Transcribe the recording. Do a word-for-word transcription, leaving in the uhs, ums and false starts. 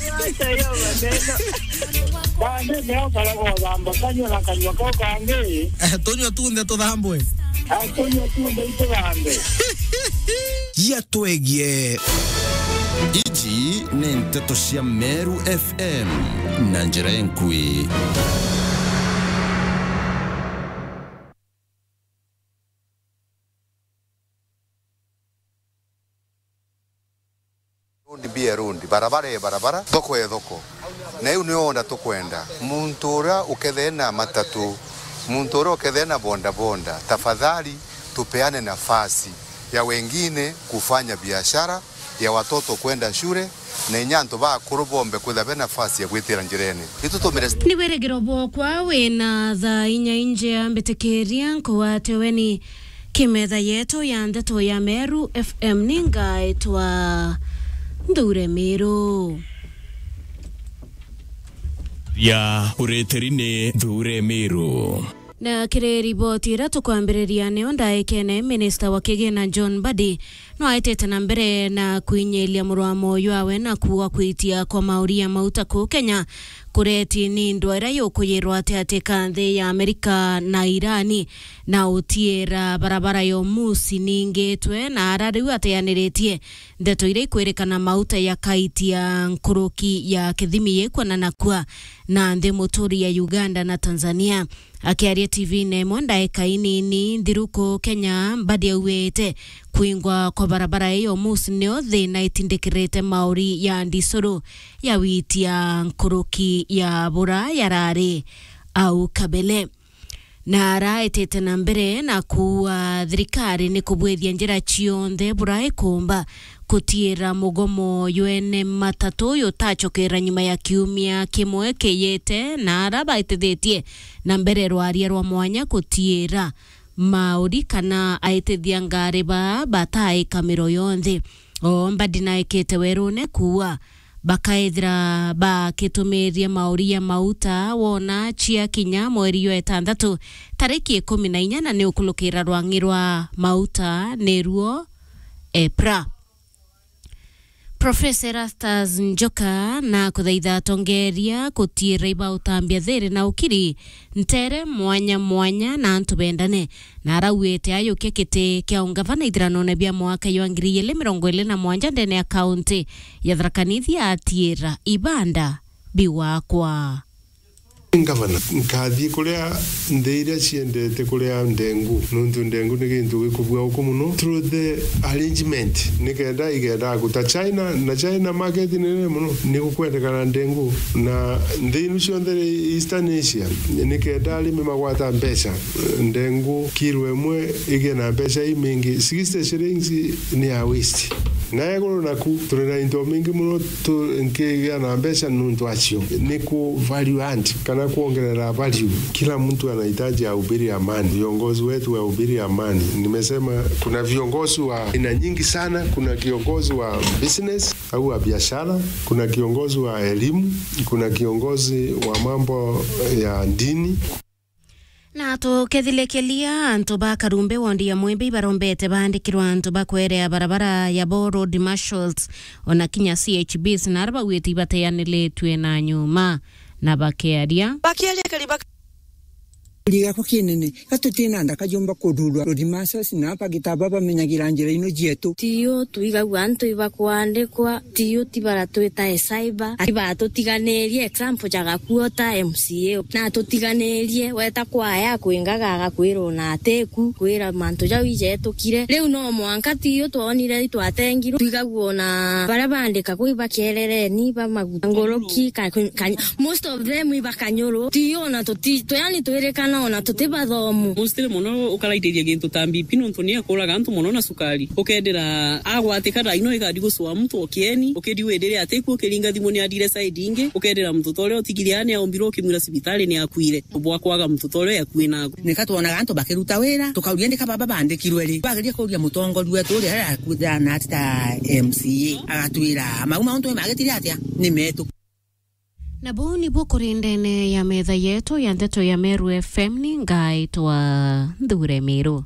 Acha hiyo maneno. Bande ndio karago thamba kanywa na kanywa kau kangi. Eh, tunywa tunthe tuthambwe. Ah, tunywa tunthe ituthambwe. Gia twegie. Iji ni nteto cia Meru F M na njira enkui. Road be a road, barabara e barabara, thoko e thoko. Na iu nio ona tukwenda. Muntu uria ukethee na matatu, muntu uria ukethee na boda boda, tafadhali tupeane nafasi ya wengine kufanya biashara, ya watoto kwenda shule, na inya antu bakuru bombe kwitha be nafasi ya gwitira njirene. Itu tumire st- Ni wirigiro bwokwa wina thaa inya injea mbitikiria nkugwate weni kimetha yetu ya ndeto ya Meru F M ni ngaitwa Nthure Miru. Ya uritiri ni Nthure Miru. Na kiri riboti iria tukwambiriria nio ndaikene, minista wa kigina John Mbadi no aitite na mbere na kwinyiria murwamo jwawe na kuuga kwitia kwa mauri ya mauta kuu Kenya kureti ni ndwaa iria yukuyirwa ati ati ka nthi ya Amerika na Irani na utiira barabara ya Hormuz ningitwe, na ara riu ateaniritie ndeto iria ikwirikana mauta yakaitia nkuruki ya kithimi yikwana na kua na nthi muturi ya Uganda na Tanzania. Akiaria T V-ini imwe ndaika inini nthiru kuu Kenya, Mbadi augite kwingwa kwa barabara iyo Hormuz nio thina itindikirite mauri ya ndisuru ya witia nkuruki ya bura yarari au kabele. Na araitite na mbere na kuuga thirikari ni kubwithia njira cionthe bura ikumba kutiira mugomo jwene matatu jutacokera nyuma ya kiumia kimwe kiyite, na ara baitithitie na mbere rwaria rwa mwanya kutiira mauri kana aitithia ngari baa bataika miro yonthe. O Mbadi naikite werune kuuga bakaithira bakitumirie mauri ya mauta wona cia kinya mweri jwa itantatu tariki ikumi na inya, na ni ukulukira rwang'i rwa mauta niruo EPRA. Profesa Erastus Njoka na kuthaitha atongeria kutiira iba utambia thiri na ukiri ntere mwanya mwanya na antu bendane, na arauite ayukia kiti kia ungavana ithiranone bia mwaka jwa ngiri igiri mirongo iri na mwanja ndene ya kaunti ya Tharaka Nithi atiira ibanda biwakwa. Ngavana, nkathii kuria nthi iria ciendete kuria ndengu, nontu ndengu ni gintu gikubua uku mono through the arrangement, nikenda igenda guta China, na China market ni nene mono, ni gukwendekana ndengu, na nthi inu cionthe Eastern Asia, nikenda arimi magwata mbeca, ndengu kilo imwe igie na mbeca imingi, sixty shillings ni ya waste. Na iguru naku, turi na into mingi mono tu-, nkigia na mbeca nuntu acio. Ni ku value add, kana kuongerera value. Kila mtu anahitaji ahubiri amani. Viongozi wetu wahubiri amani. Nimesema kuna viongozi wa aina nyingi sana. Kuna kiongozi wa business au wa biashara, kuna kiongozi wa elimu, kuna kiongozi wa mambo ya dini. Na tukethilikelia, antu ba Karumbe wondi ya Mwimbi ibarombete baandikirwa antu ba kwerea barabara ya bo road marshals, ona kinya C H Bs, na ara bauite ibateanilitue na nyuma na bakearia. Bakiaria kari bak- Kuri gakwa kinene, gatutina nda kajumba kururwa road marshals na bagitaba bamenyagira njira ino cietu. Tiyo twigagua antu ibakwandikwa, tiyo ti bara twitae cyber, ati batutiganirie example ja gakuo ta M C A. Na tutiganirie, weta kwaya kwingaga agakwira ona atiku, kwira mantu jau ijetukire. Riu no mwanka tiyo twonire itwatengirwe, twigagua ona baria bandika kwi bakerereni, ba maguta, nguruki, ka, ka, most of them iba Kanyuru. Tiyo ona tuti, tu, yani twirikana ona tuti bathomu. Mostly mono ukaraitithia gintu ta B P nontu ni akuraga antu mono na cukari. Ukendira agwatika thaa ino igadi gucua muntu o kieni, ukidi wirire atiku ukiringa thimu ni adire side ingi, ukendira muntu ta uria utigire ani aumbirwe ukimwira cibitari ni akuire. Bwa kwaga muntu ta uria yakui naku. Nika twonaga antu bakiruta wira, tukauria ndika baba bandikirwe ri? Bageria kuria mutongoria wetu uria aria akuthana ati ta M C A, agatwira mau mauntu magitire atia ni metu. Na buu nibuo kuri ndene ya metha yetu ya ndeto ya Meru F M, ni ngaitwa Nthure Miru.